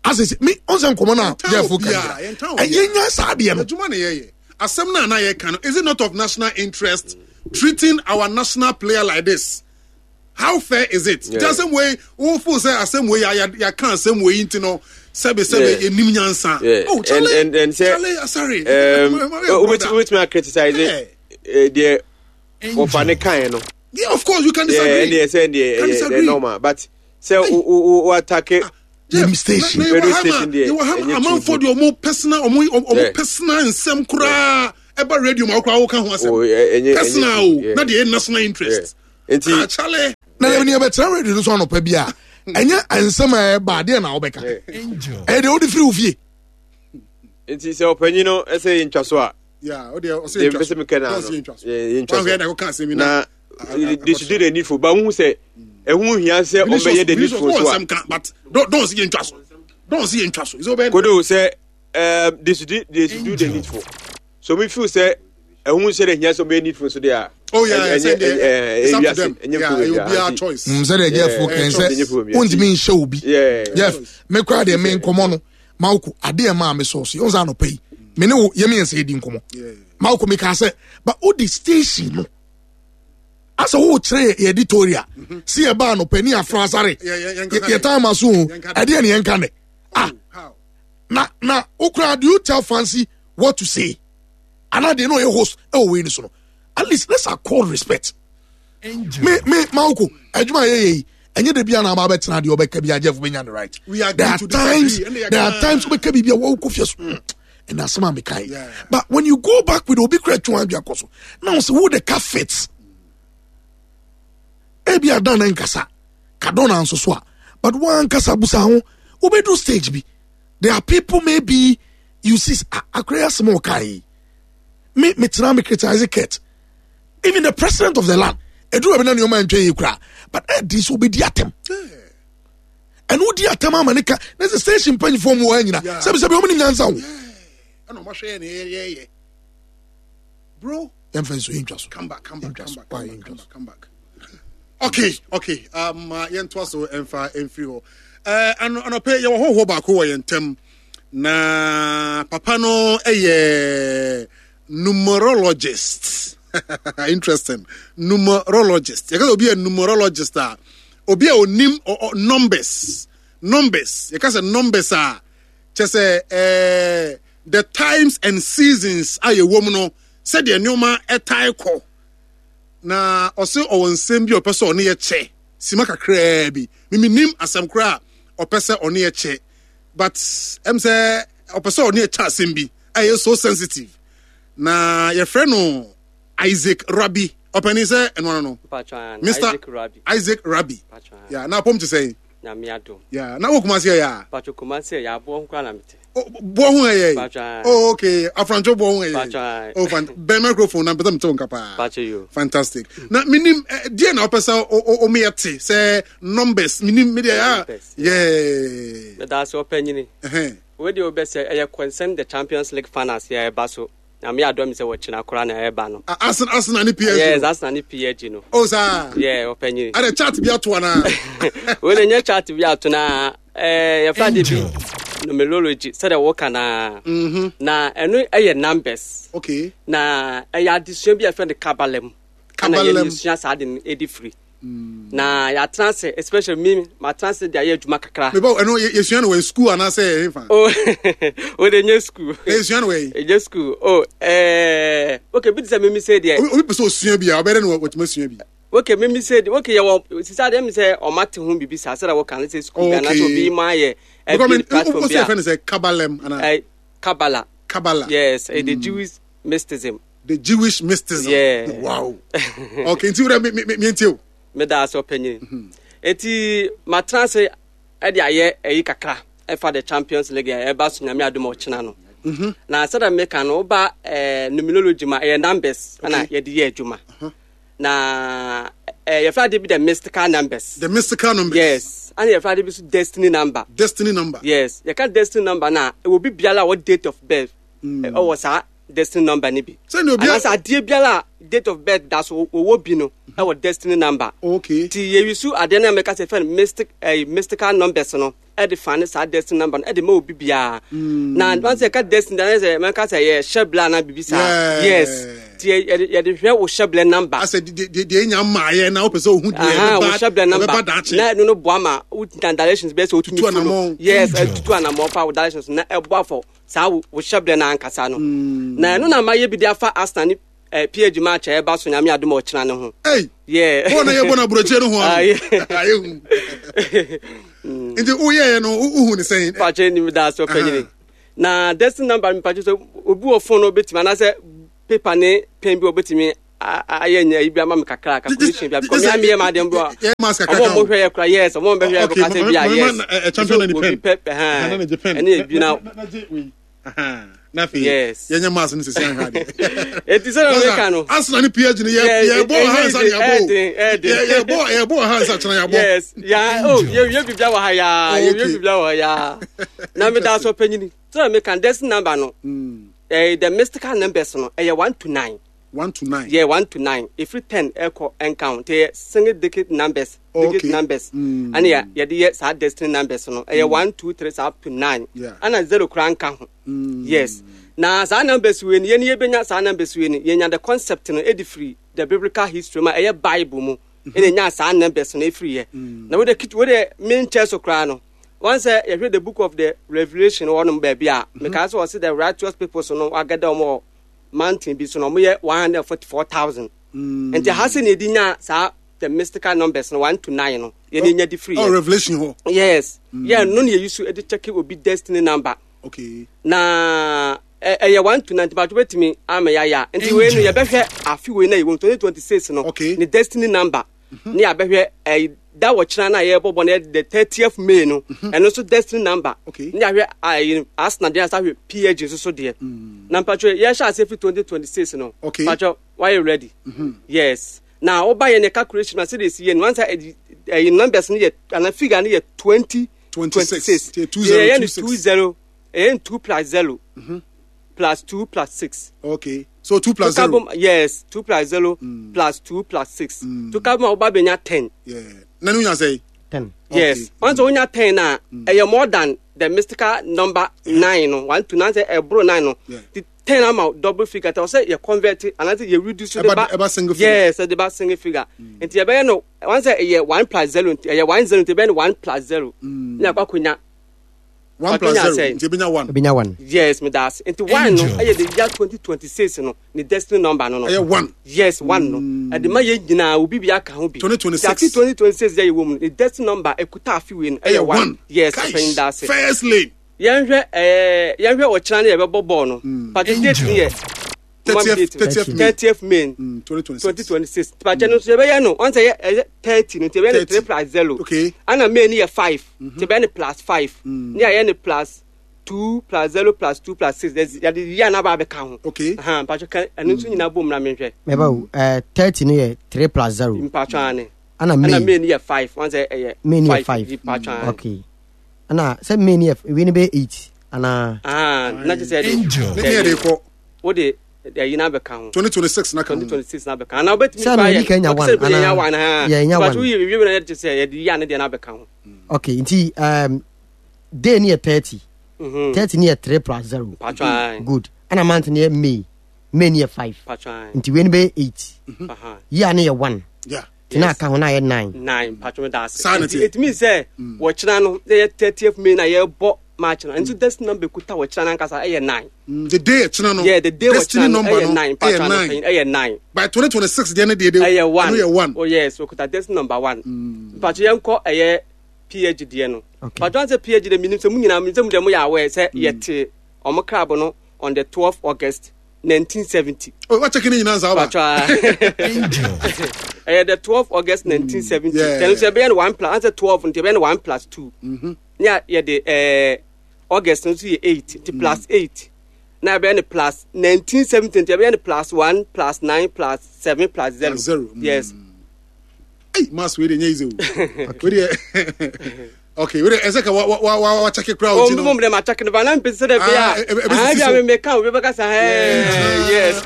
asese mi ɔnsɛ nkɔmɔ na Yɛntan Jeff obiara, kan yɛntan ɛyɛ obiara. nya saa adeɛ no. Adwuma na yɛyɛ. Asɛm na na yɛka no, is it not of national interest treating our national player like this? How fair is it? Yeah. Nti asɛm wei wofo sɛ asɛm wei yɛ yɛaka asɛm wei nti no sɛbe sɛbe Yeah. yɛnim nyansa. Yeah. Oh, Charlie, and, and, and sɛ, Charlie, sorry. um, wobɛtumi a criticize Yeah. eh, deɛ wɔfa ne kaeɛ no. Yeah, of course you can Yeah, disagree. ɛndeɛ sɛ ɛndeɛ Can ɛyɛ disagree. ɛyɛ normal, but sɛ wo wo wo attack Jeff, Dem station. na- na Radio yɛwɔ ha ma- station deɛ, yɛwɔ ha ma ɛnyɛ amanfoɔ too deɛ ɔmo personal ɔmo ɔmo Yeah. personal nsɛm koraa ɛba radio ma wokora woka ho asɛm personal o na deɛ national interest nti akyale na yɛn yɛbɛtena radio no so anɔpa bi a ɛnyɛ nsɛm a ɛba adeɛ na wobɛka ɛyɛ deɛ wode firi wo fie. Nti sɛ ɔpanyin no ɛsɛ yɛntwa so a deɛ mpɛ sɛ meka na no yɛntwa so na they should do the needful but wohu sɛ ɛho hia sɛ ɔmbɛyɛ the needful so a don't see yɛntwa so don't see yɛntwa so kodo sɛ they should do they should do the needful so me feel sɛ ɛho sɛ de hia sɛ ɔmbɛyɛ needful so deɛ a oh yeah it's up to them yeah obiara choice sɛ deɛ Jeff kɛn sɛ wontumi nhyɛ obi Jeff me koraa deɛ me nkɔmmɔ no Mawoko adeɛ maa me sɔɔso yɛn sɛ anɔpa yi me ne wo yɛ me yɛn sɛ yɛdi nkɔmmɔ Mawoko me kaa sɛ but o de station no asɛ wo kyerɛ yɛ editorial si yɛ ba anɔpa ni afra asare yɛ time aso o ɛdeɛ ne yɛn ka ne ah na na okura do you tell Fancy what to say ana deɛ no ɔyɛ host ɛwɔ wei ni so no at least let's accord respect me me Mawoko adwuma yɛ yɛ yi ɛnyɛ de bia na aba bɛtena deɛ ɔbɛka bi Jeff bɛnya the right. There are times there are times wobɛka biribi a wɔwokɔ fie so ɛna asɛm a meka yi but when you go back with obi kora twa adwa kɔ so na wo sɛ wo the car fits ebi adan na nkasa kadona nso so a but wankasa busa ho wobɛdu stage bi there are people maybe you see akora yɛ asɛm a ɔka yi me metena me criticize Kurt even the president of the land eduru bi na nneɛma ntwa yi kura but ɛdi so obedi atam ɛna odi atam ama ne ka na sɛ station mpanyinfoɔ mu wɔ anyina sɛbi sɛbi wɔn ni nyansa o. ɛna ɔmo ahwɛ yɛ ne yɛ yɛ yɛ bro. Yɛn fɛn so yɛn twa so. Come back, come back, come back, come back, come back, come back. Okay, okay. Um, yɛn to so ɛnfa ɛnfiri hɔ. Ɛɛ ano anɔpɛ yɛ wɔ hɔhoɔ baako wɔ yɛn ntɛm na papa no ɛyɛ numerologist. Interesting. Numerologist. You can be a numerologist. Obi a onim numbers. Numbers. You can say numbers are just say eh the times and seasons are your woman no said the nneɛma ɛtae kɔ. Na ɔse ɔwɔ nsɛm bi ɔpɛ sɛ ɔne yɛ kyɛ. Sima kakra bi. Mimi nim asɛm kora ɔpɛ sɛ ɔne yɛ kyɛ. But em sɛ ɔpɛ sɛ ɔne yɛ kyɛ asɛm bi. Ɛyɛ so sensitive. Na your friend no Isaac Rabbi. Openi say no no. Mister Isaac Rabbi. Isaac Rabbi. Yeah, na pom to say. Nyamiado. Yeah, na wo Kumasi ya. Pacho Kumasi ya bo ho kra na mete. Bo ho ye. Oh okay, Afrancho bo ho ye. Oh fan ben microphone na pese mte nka pa. Pacho yo. Fantastic. Na minim die na opese o me yete say numbers minim me dia. Yeah. Me da so opanyini. Eh. We dey obese eh concern the Champions League finals ya e ba so. Na me adom se wo china kora na eba no. Arsenal Arsenal ni P S G. Yes, Arsenal ni P S G no. Oh sir. Yeah, openyi. Are chat bi ato na. We dey nye chat bi ato na eh ya Friday bi numerology said the work na. Mhm. Na enu eye numbers. Okay. Na eye adesua bi e friend Kabalem. Kabalem. Na ye sua sa de edi free. Na ya trans especially me ma trans dey aye adwuma kakra. Me ba eno ye sua no we school ana say e fa. Oh we dey nye school. E sua no we. E nye school. Oh eh okay bi say me me say there. Obi person sua bi a obere no we sua bi. Okay me me say okay ye wo sisa dey me say o mate ho bibi sa say wo kan say school na so bi ma ye e bi platform bi. Because say Kabalem ana. Eh Kabbalah. Kabbalah. Yes, the Jewish mysticism. The Jewish mysticism. Yeah. Wow. Okay, nti me me me nti me da so panyin. Eti matrans e de aye eyi kakra e fa the Champions League e ba so nyame adom o no. Na sada me ka no ba numerology ma e numbers na ye de ye adwuma. Na eh ye fa de bi the mystical numbers. The mystical numbers. Yes. And ye fa de bi so destiny number. Destiny number. Yes. You can destiny number na e will be biala what date of birth. O was destiny number ni bi. So no biala ade biala date of birth that's wo bi no. Our destiny number. Okay. Ti ye wisu ade na meka se fen mystic eh mystical numbers no. E de fan sa destiny number e de ma obi bia. Na once e ka destiny na se meka se ye shebla na bibi sa. Yes. Ti ye de hwe wo shebla number. I said de de nya maaye na wo pese ohu de e ba shebla number. Na no no boa ma wo directions be se otumi follow. Yes, tutu anamo fa wo directions na e boa for sa wo shebla na ankasa no. Na no na ma ye bi de afa Arsenal ni P H match e ba so nyame adom o kina ne ho. Hey. Yeah. Wo na ye bona broche no ho. Aye. Nti wo ye no wo hu ne sen. Pa che ni da so panyini. Na destiny number mi pa che so obi wo phone no betima na se Paper ne pen bi obetimi ayɛ nya yi bi ama me kakra calculation bi because me ameyɛ ma adeɛ bi a ɔmo ɔmo hwɛ yɛ kora yes ɔmo ɔmo bɛhwɛ yɛ kora sɛ bi a yes champion ne obi pen pɛ ɛhɛn ɛne ebi na na afei yes yɛnyɛ maas no sisi ahwɛ adeɛ eti sɛ ɔmo ka no Arsenal ne P S G no yɛ yɛ bɔ ha nsa ne yɛ bɔ yɛ bɔ yɛ bɔ ha nsa kyerɛ yɛ bɔ yes ya oh yɛ yɛ bibia wɔ ha ya yɛ yɛ bibia wɔ ha ya na mi da so panyini sɛ ɔmo ka destiny number no ɛɛ the mystical numbers no ɛyɛ one to nine. One to nine. Yeah, one to nine. If you ten, echo and count. They single digit numbers, oh, digit okay. numbers. Mm. And yeah, yeah, the yes, our destiny numbers. No, mm. one, two, three, up to nine. Yeah. And a zero crown count. Mm. Yes. Now, saa numbers we ni yɛn benya saa numbers we ni yɛn the concept no edi free the biblical history ma ɛyɛ Bible mu. Ɛna nya saa numbers no efiri yɛ. Na wo de wo de main church okra no. Once you read the book of the Revelation one baby a, because was the righteous people so no agada mo mountain bi so no mo one hundred forty-four thousand. Mm. And the has ni di nya sa the mystical numbers no one to nine no. Ye ni nya di free. Oh, Revelation ho. Yes. Mm. Yeah, no ni use e di check obi destiny number. Okay. Na eh one to nine but wait me am ya ya. Nti we no ye behwe afi we na ye twenty twenty-six no. Okay. Ni destiny number. Ni abehwe eh that watch na ye bobo na the thirtieth May no. And also destiny number. Okay. Ni ahwe Arsenal dey asa P H G so so there. Na mpatcho ye sha ase fi twenty twenty-six no. Okay. Mpatcho why you ready? Mm-hmm. Yes. Now oba ye ne calculation na say dey see once eh numbers ni ye and figure ni ye twenty twenty-six. Yeah, two zero eh two plus zero. Mm-hmm. Plus two plus six. Okay. So two plus to zero. Carbon, yes, two plus zero mm. plus two plus six. Mm. To carbon oba benya ten. Yeah. Nanu nya say ten. Yes. Okay. Once mm. ten na mm. eh more than the mystical number yeah. nine no. one to nine say e bro nine no. Yeah. The ten amount double figure tell say you convert it and you reduce the ba eba single figure. Yes, the ba single figure. Mm. Nti e be no once eh one plus zero eh one zero nti be one plus zero. Mm. Na kwa kunya one plus zero nti binya one. Binya one. Yes, me das. Nti one no eh the year twenty twenty-six no, ni destiny number no no. Eh one. Yes, one no. E de ma ye nyina obi bia ka ho bi. twenty twenty-six. twenty twenty-six ye wo mu. The destiny number ekuta afi we no eh one. Yes, pen das. First lane. Yen hwe eh yen hwe o kira na ye be bobo no. But the date ni ye thirtieth May. thirtieth May. Mm, twenty twenty-six. twenty twenty-six. But no so ye be no, once ye thirty no, be three plus zero. Okay. And May ni ye five. Mm-hmm. Be plus five. Mm. Ni ye plus two plus zero plus two plus six. There's ya ya na ba be ka ho. Okay. Uh-huh, but kan enu so nyina bom na me hwe. Me ba eh thirty ni ye three plus zero. Mpacho ane. Ana May. Ana May ni ye five. Once ye May ni ye five. Mpacho ane. Okay. Ana say May ni ye we ni be eight. Ana ah, na je say Angel. Ni ye de ko. Wo de you na beka ho twenty twenty-six na ka twenty twenty-six na beka na obetimi pa ye Kenya one ana one ha yeah but we we na je say ye ya ne de na beka ho. Okay, nti um day ni thirty. Mhm. thirty ni three plus zero. Patron. Good. Ana month ni May. May ni five. Patron. Nti we ni be eight. Aha. Year ni one. Yeah. Tina ka ho na ye nine. nine patron das. Sanity. It means say wo kina no ye thirtieth May na ye bo March no. Nti destiny number kuta wo kina na nkasa eh nine. Mm, the day kina no. Yeah, the day destiny number no no nine patron eh nine. By twenty twenty-six the day dey eh one. No one. Oh yes, we kuta destiny number one. Mm. Patron ye nko eh P H D no. Okay. Patron say P H D minim say mu nyina minim say mu dem ya aware say ye te omo club no on the twelfth August nineteen seventy. Oh, what checking in answer ba. Patron. Eh the twelfth August nineteen seventy. Yeah. Then say be one plus answer twelve nti be one plus two. Mhm. Yeah, yeah, the eh August no so eight, the plus eight. Now be plus nineteen seventy, be plus one plus nine plus seven plus zero. Plus zero. Mm. Yes. Hey, mass we dey easy. Okay. We dey Okay, we dey ezeka wa wa wa wa check crowd Oh, you know. mo mo ma check no ba na mpese de be Ah, a. eh, eh, Ah, eh, bi a me ka we be ka say eh yes.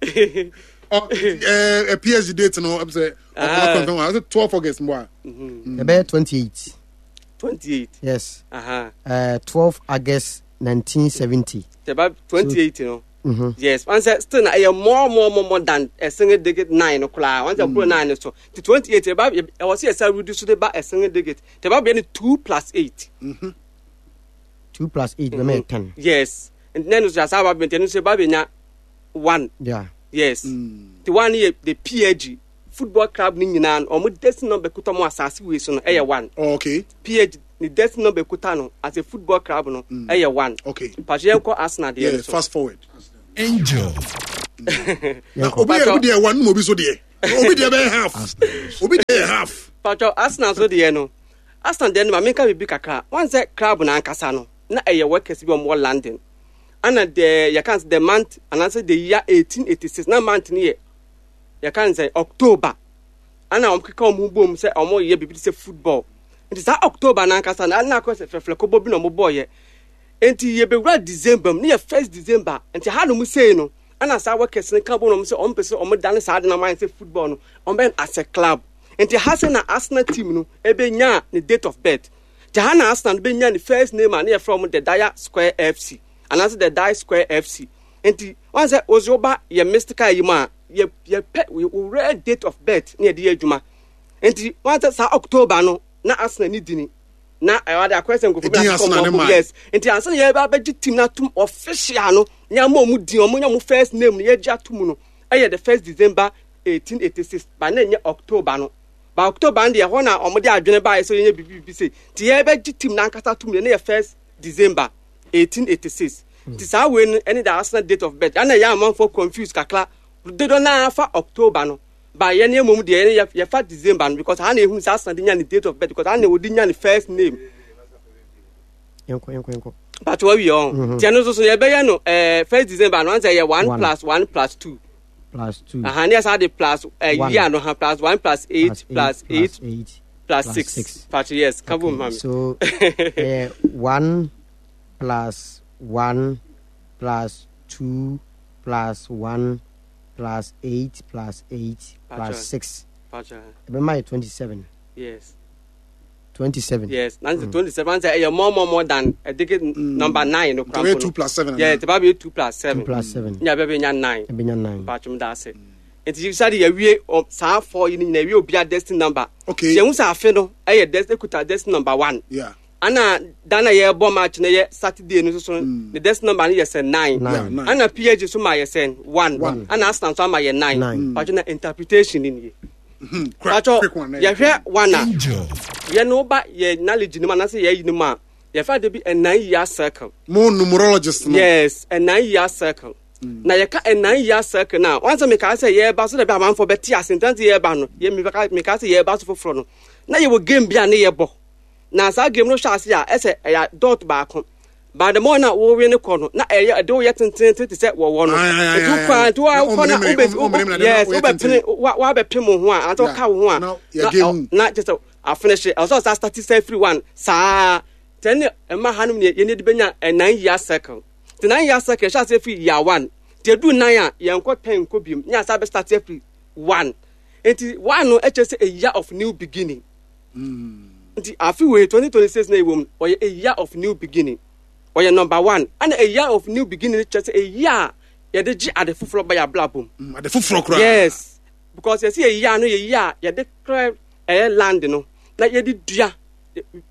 Okay. Okay, eh P S G date no say Ah. confirm one. twelfth August mo. E be twenty-eight. twenty-eight. Yes. Uh-huh. Uh twelfth August nineteen seventy. About twenty-eight, you know. Mm-hmm. Yes. Once still na eh more more more more than a single digit nine o'clock. Once mm. nine so the twenty-eight about I was here reduce to about a single digit. The about be two plus eight. Mm-hmm. two plus eight mm-hmm. be ten. Yes. And then just about be ten so about be one. Yeah. Yes. Mm. The one here the P H G football club ni nyina omo destiny number kuta mo asase we so no eh one. Oh, okay. P H G the destiny number kuta no as a football club no mm. eh one. Okay. Pache ko Arsenal yeah, there so. Fast forward. Angel. Na obi yɛ obi deɛ one na obi so deɛ obi deɛ bɛyɛ half, obi deɛ yɛ half. Patro, Arsenal so deɛ no, Arsenal deɛ no, ma menka biribi kakra. Wɔn sɛ club no ankasa no, na ɛyɛ workers bi a wɔwɔ London, ana the yɛka sɛ the month anaasɛ the year eighteen eighty-six, na month no yɛ yɛka sɛ October, ana wɔn keka wɔn ho bom sɛ wɔn yɛ biribi te sɛ football. Nti saa October no ankasa no, ana akɔ sɛ fɛfrɛ kɔbɔ bi na wɔn bɔɔyɛ. Nti yɛbɛwura December mu ne yɛ first December. Nti ha nom sei no, ana saa workers no ka bom na wɔn sɛ wɔn pɛ sɛ wɔn dane saa de na wɔn ayɛ sɛ football no, wɔn bɛn as a club. Nti ha sɛ na Arsenal team no ebenya ne date of birth. Nti ha na Arsenal no benya ne first name a ne yɛfrɛ wɔn the Dial Square F C anaasɛ the Dial Square F C. Nti wɔn sɛ wɔsi wɔba yɛ mystical yi mu a, yɛ yɛpɛ wɔ date of birth ne yɛde yɛ adwuma. Nti wɔn sɛ saa October no na Arsenal ne dini na ɛwɔ de akɔyɛ sɛ nkurɔfoɔ bi Edin na Arsenal ne akɔkɔ man. Yes, nti ansa na yɛbɛ abɛgye team na atum official no, nyɛ ɔmo din, ɔmo nya ɔmo first name no yɛgye atum no, ɛyɛ the first December eighteen eighty-six, ba na nyɛ October no. Ba October no deɛ, ɛhɔ na ɔmo de adwene baayɛ sɛ yɛnyɛ bibi bibi se. Nti yɛbɛgye team na ankasa atum no ne yɛ first December eighteen eighty-six. Nti saa wei no ɛne the Arsenal date of birth. Ɛna yɛ amanfoɔ confuse kakra dodo naa fa October no, ba yɛn ne mmom deɛ, yɛn yɛfa December no, because ha na ehunu sɛ Arsenal de nya ne date of birth, because ha na wɔde nya ne first name. Yɛnkɔ, yɛnkɔ, yɛnkɔ. But wawie ɔn Mhm. tiɛ no nso so yɛbɛyɛ no ɛɛ first December no, ansɛ yɛ one One. plus one plus two. Plus two. Aha ne yɛ saa de plus ɛɛ One. year no ha, plus one plus eight plus eight eight plus plus six. Six. But yes, kabo Okay, ma mi. so uh, one plus one plus two plus one plus eight plus eight Pacho. plus six. Pacho. Ɛbɛma yɛ twenty-seven. Yes. twenty-seven. Yes, na mm. twenty-seven sɛ ɛyɛ more more more than ɛdeke number nine no. Nti ɔbɛyɛ two plus seven. Yeah, nti ba bɛyɛ two plus seven. two plus seven. Nya bɛ bɛ nya nine. Ɛbɛnya nine. Pacho, mu da ase. Nti sadi yɛwie ɔ saa four yi ni nyinaa, yɛwie obiara destiny number. Okay. Yɛn ho sɛ afe no ɛyɛ des ekuta destiny number one. Yeah. Ana da na yɛbɔ match no yɛ Saturday no soso, ne destiny number no yɛ sɛ nine. Nine. Yeah, nine. Ana P S G so ma yɛ sɛ one. One. Ana Arsenal nso ama yɛ nine. Nine. Pacho, na interpretation ni nie. Quick, Pacho, quick one. yɛhwɛ one a, Angel. yɛn no ba yɛ knowledge no mu anaasɛ yɛ yi no mu a, yɛfa de bi a nine year circle. Mo numerologist no. Yes, a nine year circle. Na yɛka a nine year circle na wɔn sɛ meka sɛ yɛreba so dɛ bi amanfoɔ bɛte ase ntan sɛ yɛreba no, yɛ meka meka sɛ yɛreba so foforɔ no, na yɛwɔ game bi a ne yɛbɔ. Na saa game no hyɛ ase a, ɛsɛ ɛyɛ dot baako, but the more na wɔwe ne kɔ no, na ɛyɛ ɛde woyɛ tententen te sɛ wɔwɔ no. Aye, aye, aye, Nti aye. wokɔ a, nti Na wakɔ na ɔmmeremere, wobɛ ɔmmeremere na yes, woyɛ wobɛpene tenten. wa wabɛpem wo ho a ansa Yeah. woka wo ho a, Na na yɛgye ɔ- hu. na kyerɛ sɛ afinish, ɛwɔ sɛ ɔsa start sɛ firi one saa tɛn ne ɛma hanom ne yɛn de bɛnya a nine year circle. Nti nine year circle ɛhyɛ ase firi year one, nti edu nine a, yɛnkɔ ten nkɔ biem ne asa bɛ start firi one. Nti one no ɛkyɛ sɛ a year of new beginning. Nti afi wei twenty twenty six na ewom, ɔyɛ a year of new beginning, ɔyɛ number one. Ɛna a year of new beginning kyerɛ sɛ a year a yɛde gye ade foforɔ ba yɛ abrabɔ mu. Mm, ade foforɔ koraa. Yes, because yɛsi yɛ year no yɛ year a yɛde clear ɛyɛ land no na yɛde dua,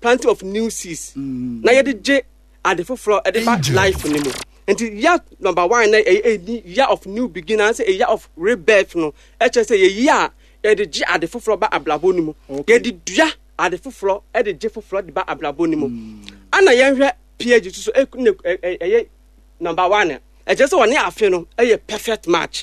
planting of new seeds, na yɛde gye ade foforɔ ɛde ba Angel. life ne mu. Nti year number one na ɛyɛ ɛni year of new beginning anaasɛ a year of rebirth no, ɛkyerɛ sɛ yɛ year a yɛde gye ade foforɔ ba abrabɔ no mu. Okay. Yɛde dua ade foforɔ, ɛde gye foforɔ de ba abrabɔ no mu. Ana yɛnhwɛ P S G so, ɛyɛ number one, ɛkyerɛ sɛ wɔne afe no ɛyɛ perfect match.